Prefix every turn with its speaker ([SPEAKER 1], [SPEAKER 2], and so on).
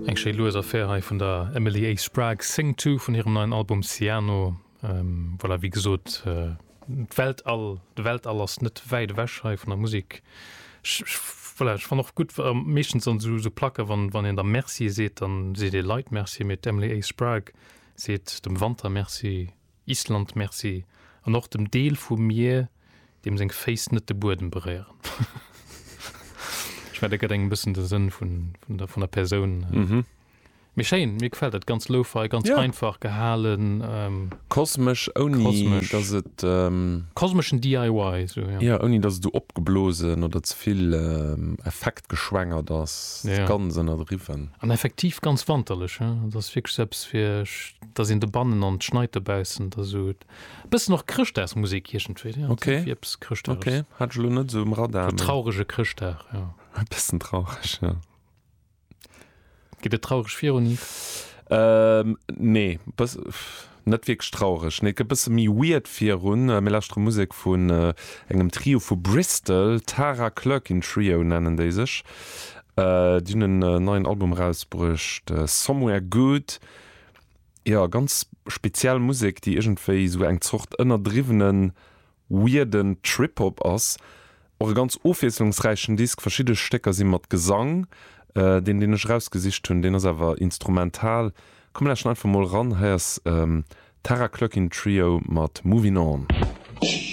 [SPEAKER 1] Eng schéi lues Affär hei vun der Emily A. Sprague, Sing To vun hirem neien Album Ciano. Voilà, wéi gesot, d'Weltall, de Weltall ass net wäit ewech hei vun der Musek. Ech, voilà, ech fannen och gutt, meeschtens an esou Placke wann, wann een da Merci seet, dann seet ee Leit Merci, mee d'Emily A. Sprague seet dem Wanter Merci, Island Merci an och dem Deel vu Mier, deem seng Féiss net de Buedem beréieren. Ech mengen, dat gëtt engem e bëssen de Sënn vun, vun der, vun der Persoun. Mee schéin, mir gefällt dat, ganz lo-fi, ganz
[SPEAKER 2] Ja.
[SPEAKER 1] einfach gehalen. Ähm,
[SPEAKER 2] Kosmesch, ouni
[SPEAKER 1] Kosmesch.
[SPEAKER 2] dass et,
[SPEAKER 1] Kosmeschen DIY, sou,
[SPEAKER 2] ja. ja, ouni dass et esou opgeblosen oder ze vill effektgeschwängert ass.
[SPEAKER 1] Ja.
[SPEAKER 2] Ganz ënnerdriwwen.
[SPEAKER 1] An effektiv ganz wanterlech, he. Dat ass wierklech sou eppes fir, dass een dobannen an et schneit dobaussen, da sou e bëssen och Chrëschtdagsmusek iergendwéi, ja,
[SPEAKER 2] Okay.
[SPEAKER 1] wéi eppes Chrëschtdages.
[SPEAKER 2] Okay, hat ech elo net esou um Radar,
[SPEAKER 1] Sou
[SPEAKER 2] mee.
[SPEAKER 1] traurege Chrëschtdag, ja.
[SPEAKER 2] E bëssen traureg, ja.
[SPEAKER 1] Geet et traureg virun, Yves?
[SPEAKER 2] Ähm, nee, bëss, net wierklech traureg. Nee, et geet bësse méi weird virun. Mir lauschtere Musek vun engem Trio vu Bristol, Tara Clerkin Trio nennen déi sech. Déi hunn en neien Album erausbruecht, Somewhere Good. Jo, ganz speziell Musek, déi iergendwéi esou eng Zort ënnerdriwwenen weirden Trip-Hop ass. Och e ganz ofwiesslungsräichen Disk, verschidde Stécker si mat Gesang, deen deen ech erausgesicht hunn, deen ass awer instrumental. Komm mir lauschteren einfach mol eran, hei ass Tara Clerkin Trio mat Movin' On.